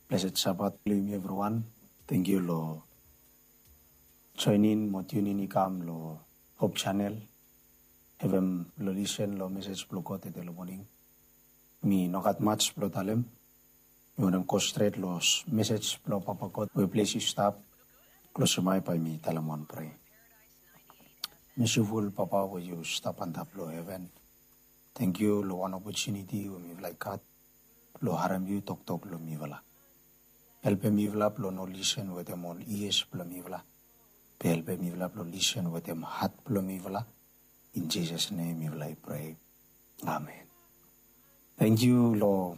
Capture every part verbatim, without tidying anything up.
Blessed Sabbath blong yumi evriwan. Thank you lo join in mo tune in i kam lo Hope Channel. Havem lo listen lo message blong God tede lo morning. Mi no gat much blong talem. Mi wantem go stret lo message blong Papa God we ples i stap. Klosim ai bae mi talem wan prea. Mesiful Papa we yu stap antap lo heven. Thank you lo wan opportunity we mifala i gat blong harem yu toktok lo mifala. Helpem mifala blong no lisen wetem ol ears blong mifala. Be helpem mifala blong lisen wetem hat blong mifala. In Jesus' name mifala i pray. Amen. Thank you lo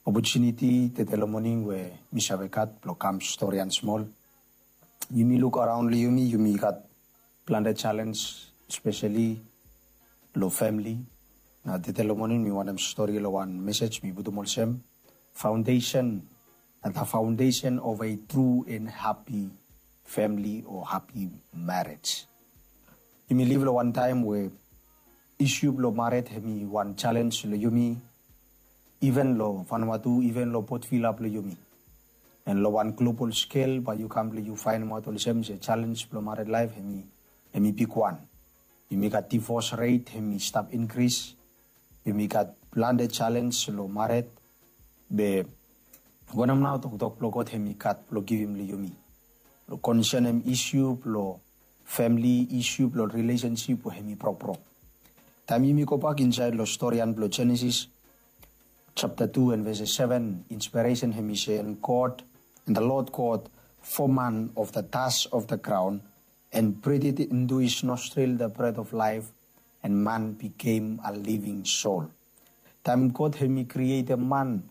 opportunity tede lo morning we mi save gat blong kam storian smol. Yumi luk araon lo yumi, yumi gat plante challenge, especially lo family. Na tede lo morning mi wantem stori lo wan message mi putum olsem foundation, the foundation of a true and happy family or happy marriage. Yumi live lo wan taem we issue blong married hemi wan challenge lo yumi, even lo Vanuatu, even lo Port Vila blong yumi. And lo wan global scale bae yu kam blong yu faenemaot olsem se challenge blong married life hemi, hemi bigwan. Yumi gat divorce rate hemi stap increase. Yumi gat plante challenge lo married. Be wanem nao toktok blong God hemi gat blong givim lo yumi lo concernem issue blong family, issue blong relationship we hemi brokbrok? Taem yumi gobak insaed lo storian blong Genesis chapter two and verses seven, inspiration hemi se, and God, and the Lord God formed man of the dust of the ground, and breathed into his nostril the breath of life, and man became a living soul. Taem God hemi krietem man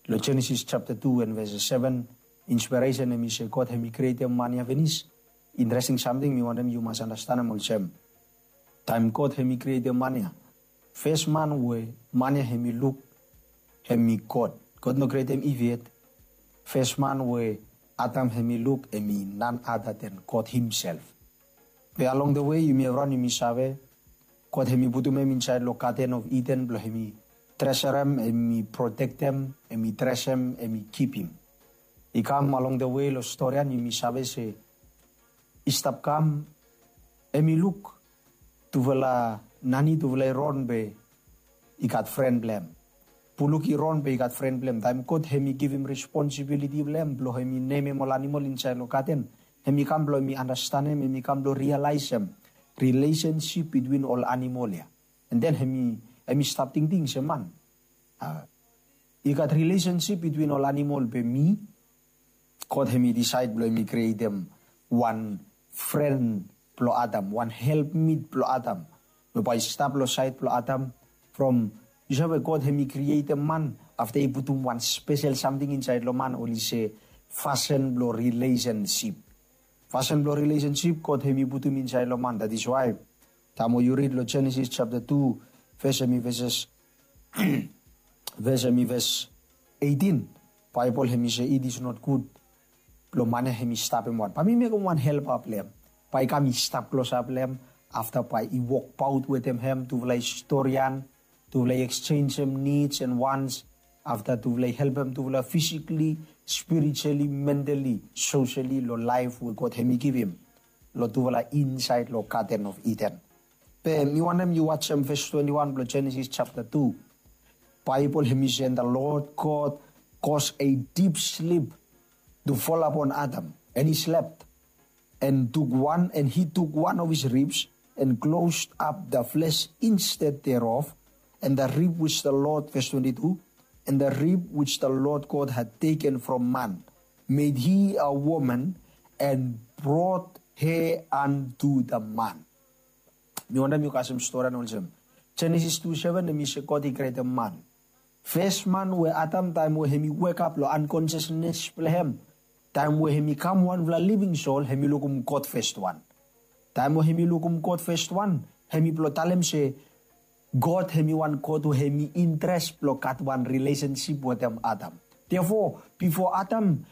lo Genesis chapter two and verses seven, inspiration hemi se God hemi krietem man ia finis. Interesting samting mi wantem yu mas andastanem olsem, taem God hemi krietem man ia, fes man we man ia hemi luk hemi God. God no krietem Iv yet. Fes man we Adam hemi luk hemi none other than God himself. Be along the way yumi evriwan yumi save God hemi putum hem insaed lo Garden of Eden blong hemi tresurem, hemi protektem, hemi dresem, hemi kipim. I kam along the way lo storian yumi save se i stap kam, hemi luk tufala nani, tufala i ron be i gat fren blong hem. Buluk i ron be i gat fren blong hem. Taem God hemi givim responsibility blong hem blong hemi nemem ol animol insaed lo gaden, hemi kam blong hemi andastanem, hemi kam blong rialaesem relationship between ol animol ia. And then hemi, hemi stap tingting se man, a, i gat relationship between ol animol be mi. God hemi disaed blong hemi krietem wan fren blong Adam, wan helpmit blong Adam, we bae i stap lo saed blong Adam. From, yu save, God hemi krietem man afta i putum wan spesel samting insaed lo man, oli se fasin blong relationship. Fasin blong relationship God hemi putum insaed lo man. That is why taem we yu rid lo Genesis chapter two, ves hemi ves, ves hemi ves eighteen, Baebol hemi se it is not good blong man ia hemi stap hem wan. Bae mi mekem wan helpa blong hem, bae i kam i stap klosap long hem. Afta bae i wokbaot wetem hem, tufala i storian, tufala i eksenjem needs and wants. Afta tufala i helpem tufala physically, spiritually, mentally, socially lo laef we God hemi givim lo tufala insaed lo Garden of Eden. Be mi wantem yu wajem ves twenty-one blong Genesis chapter two. Baebol hemi se, and the Lord God caused a deep sleep to fall upon Adam, and he slept, and took one, and he took one of his ribs, and closed up the flesh instead thereof, and the rib which the Lord, verse twenty-two, and the rib which the Lord God had taken from man, made he a woman, and brought her unto the man. Mi wantem yu kasem storian olsem, Genesis two seven hemi se God i krietem man. Fes man we Adam, taem we hemi wekap lo unconsciousness blong hem, taem we hemi kam wanfala living soul, hemi lukum God fes wan. Taem we hemi lukum God fes wan, hemi blong talem se God hemi wan God we hemi interes blong gat wan relationship wetem Adam. Therefore, bifo Adam